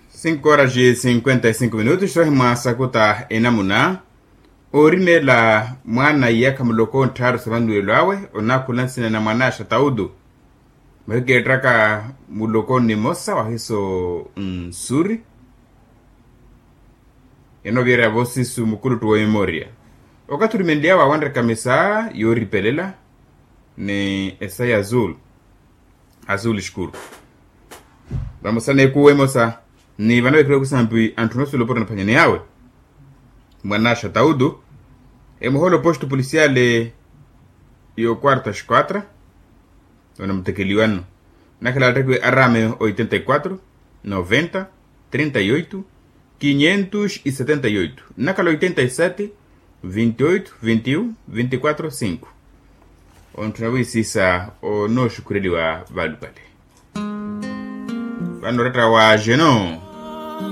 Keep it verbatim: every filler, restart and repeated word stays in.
Cinco horas e cinquenta e cinco minutos sohimwa sakuta enamuna. Oorimeela mwaana iyakha muloko ntthaaru sa vannuwelo awe, onaakhula nsina na mwanaaxa taudu. Mahikeettaka muloko nnimosa wahiso nsuri. Enoovyeerya voosisu mukuluttu wa emoria. Okathi orimenly'awe awanreka misa yooripelela ni esa ya azul. Azul escuro. Vamosa n'ekuwo emosa ni vanavekhela okusampi anthu noosuwela opuro anaphwanyaneyawe. Mwanaaxa taudu. Emuhoolo posto policiale yo quarta esquadra. Onamutekeliwa nno. Nnakhala attekiwe arame oitenta e quatro, noventa, trinta e oito, quinhentos e setenta e oito, nnakhala oitenta e sete, vinte e oito, vinte e um, vinte e quatro cinco. Ontthuna wiisiisa onooxukhureliwa valupale. Vano oratta wa jeno.